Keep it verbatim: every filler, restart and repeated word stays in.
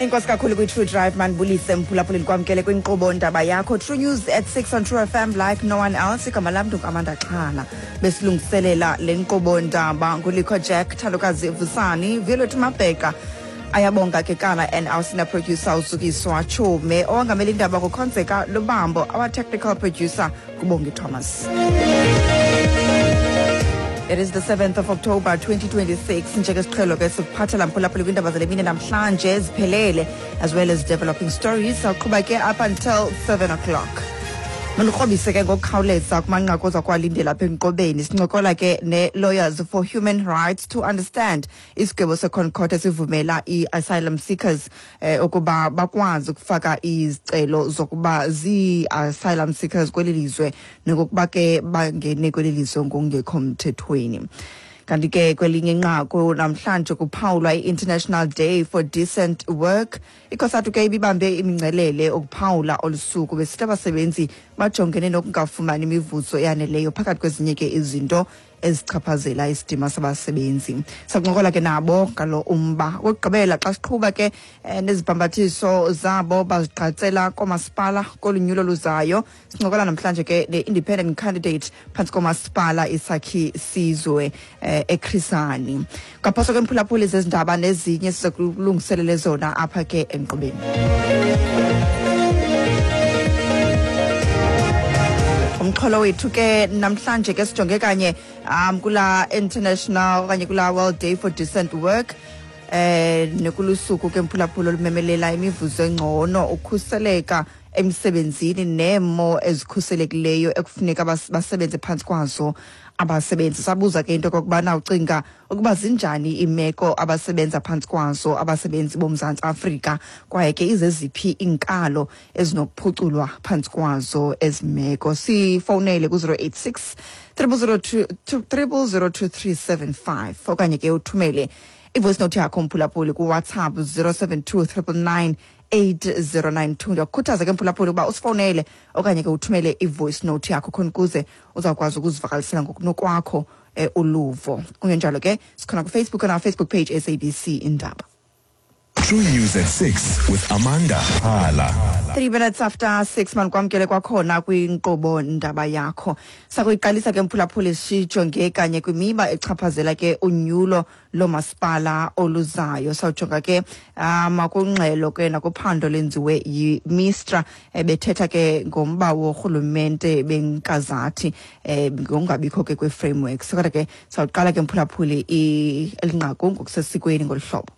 Inkosi kakhulu kwi-True Drive. Mandibulise, mphulaphuli, ndikwamkele kwinkqubo Ndaba Yakho, True News at six on True F M like no one else. Igama lam ndinguAmanda Xhala. Besilungiselela le nkqubo ndaba nguLikho Jack, Thandokazi Vusani, Violet Mabheka, Ayabonga Kekana and our senior producer uZukiswa Chume. Owangamela indaba nguKhonzeka Lubambo, our technical producer nguBongi Thomas. It is the seventh of October twenty twenty-six. Njengesiqhelo ke sikuphathela, mphulaphuli, kwiindaba zale mini namhlanje eziphelele, as well as developing stories. Sawuqhuba ke up until seven o'clock. Mandikrobise ke ngokukhawuleza kumanqaku oza kuwalindela apha enkqubeni. Sincokola ke ne-Lawyers for Human Rights to understand isigwebo seConcourt esivumela i-asylum seekers eh, ukuba bakwazi ukufaka izicelo zokuba zii-asylum seekers kweli lizwe nokokuba ke bangene kweli lizwe ngokungekho mthethweni. Kanti ke kwelinye inqaku, namhlanje kuphawulwa i-International Day for Decent Work. ICOSATU ke ibibambe imingcelele ukuphawula olu suku, besithi abasebenzi bajongene nokungafumani imivuzo eyaneleyo, phakathi kwezinye ke izinto ezichaphazela isidima sabasebenzi. Sakuncokola ke nabo ngalo umba. Okokugqibela, xa siqhuba ke eh, nezibhambathiso zabo bazigqatsela koomasipala kolu nyulo luzayo, sincokola namhlanje ke ne-independent candidate phantsi komasipala iSakhi Sizwe eh, eChris Hani. Ngaphoso kwemphulaphuli, zezindaba nezinye siza kulungiselele zona apha ke enkqubeni. Umxholo wethu ke namhlanje ke sijonge kanye um kula International okanye kula World Day for Decent Work, eh nekulusuku ke, mphulaphula, olumemelela imivuzo engcono, ukhuseleka emsebenzini nemo ezikhuselekileyo ekufuneka bas- basebenze phantsi kwazo abasebenzi. Sabuza ke into okokubana ucinga ukuba zinjani iimeko abasebenza phantsi kwazo abasebenzi boMzantsi Afrika, kwaye ke izeziphi iinkalo ezinokuphuculwa phantsi kwazo ezi meko. Sifowunele ku-zero eight six triple zero two triple zero two three seven five, okanye ke uthumele ivoice note yakho, mphulaphuli, kuWhatsApp zero seven two triple nine eight zero nine two. Ndiyakukhuthaza ke, mphulaphuli, ukuba usifowunele okanye ke uthumele ivoice note yakho khona ukuze uzawukwazi ukuzivakalisela ngokunokwakho eh, uluvo. Kungenjalo ke sikhona kuFacebook, on our Facebook page, S A B C Indaba. True News at six with Amanda Hala. three minutes after six, mandikwamkele kwakhona kwinkqubo Ndaba Yakho. Sakuyiqalisa ke, mphulaphuli, sijonge kanye kwimiba echaphazela ke unyulo lomasipala oluzayo. Sawujonga ke um kwingxelo ke nakuphando lenziwe yiMistra, ebethetha ke ngomba worhulumente benkazathi um ngokungabikho ke kwe-frameworks. Kodwa ke sawuqala ke, mphulaphuli, elinqaku ngokusesikweni ngolu hlobo.